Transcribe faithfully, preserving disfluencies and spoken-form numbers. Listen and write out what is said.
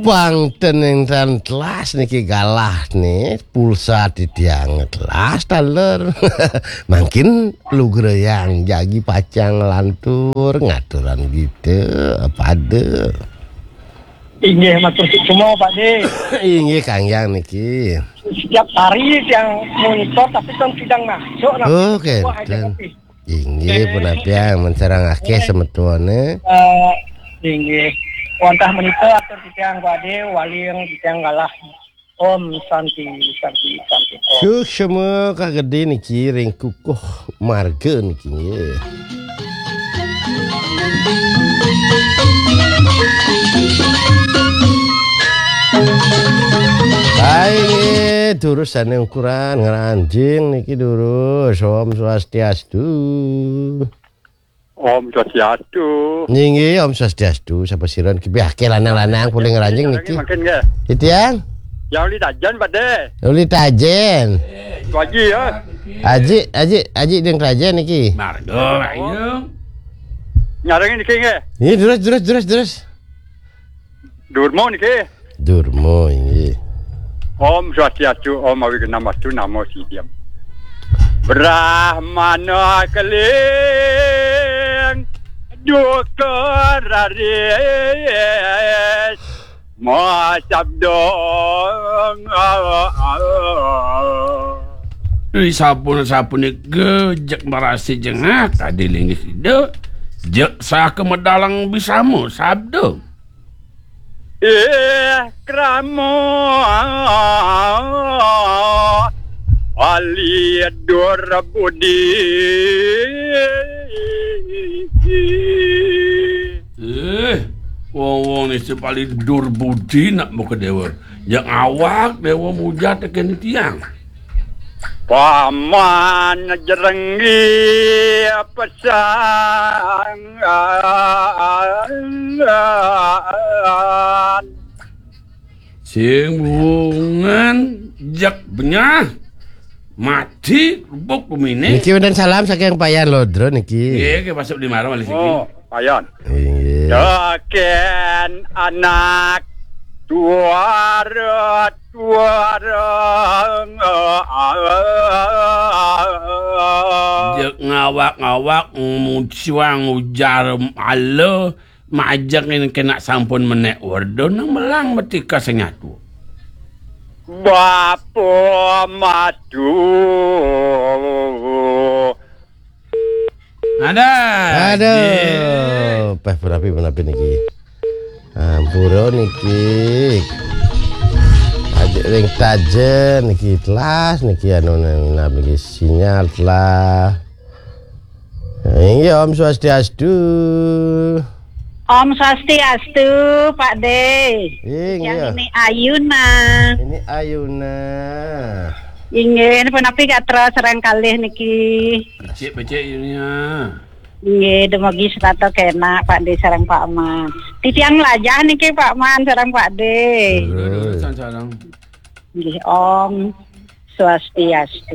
Pang ten ing tan telas niki galah nih, pulsa titiang telas taler. Mangkin lugrayang jagi pacang lantur ngaturan kita pada. Inggih, matur suksma, Pak De. Inggih, Kang Yang niki. Setiap hari tiang monitor, tapi tong sidang masuk, nah. Oh, wah, aja kenten. Tapi. Inggih, punapi, men sareng akéh semetuné. Eh, inggih. Wantah menika atur titiang Pak De, waling titiang galah. Om Santi, Santi, Santi, Om. Suksma kagedé niki ring kukuh marga niki, nggih. Baik, nggih, durus sané ukuran ngranjing niki durus. Om Swastiastu. Om Swastiastu. Nggih, Om Swastiastu. Sapa sira niki? Biah ké lanang-lanang polih ngranjing niki. Mangkin nggih. Titiang? Ya, uli tajen, Pak De. Uli tajen. Waji ya. Aji, aji, aji ding tajen niki. Marga, ayo. Nyarengin niki nggih. Nggih, terus, terus, terus, terus. Durma niki. Durma, inggih. Om Swastiastu, Om Awighnamastu, Namo Siddham. Brahmana keling duka raris ma sabda. Ri sampun-sampun nika jeg marasi jengah tadi linggih sida. Jeg saka medalang bisama sabda. Eh, krama ali dur budi. Eh, wong-wong ni sepali dur budi nak muka dewa. Yang awak dewa mujat kene tiang. Paman jerenggi pesangan. Sing wungan jek benyah mati rubuk bumine. Niki wonten salam saking Payan Lodro niki. Nggih, nggih, masuk di marang malih siki. Oh, Payan. Inggih. Teken anak tuara-tuara. Jek ngawak-ngawak mucuang ujar ala majeng ing kena sampun menek werda nang melang metika sing nyatua. Bapa matu. Ada. Aduh, peh punapi, punapi niki. Ampura niki. Ajak ring tajen niki telas niki anu nang niki sinyal telah. Inggih, Om Swastiastu. Om Swastiastu, Pak De. Inggih. Yang ini Ayuna. Ini Ayuna. Inggih, punapi gatra sareng kalih niki. Becik, becik, Yunia. Inggih, dumugi setata kenak, Pak De sareng Pak Man. Titiang lajah niki, Pak Man sareng Pak De. Terus. Terus, sareng. Inggih, Om Swastiastu.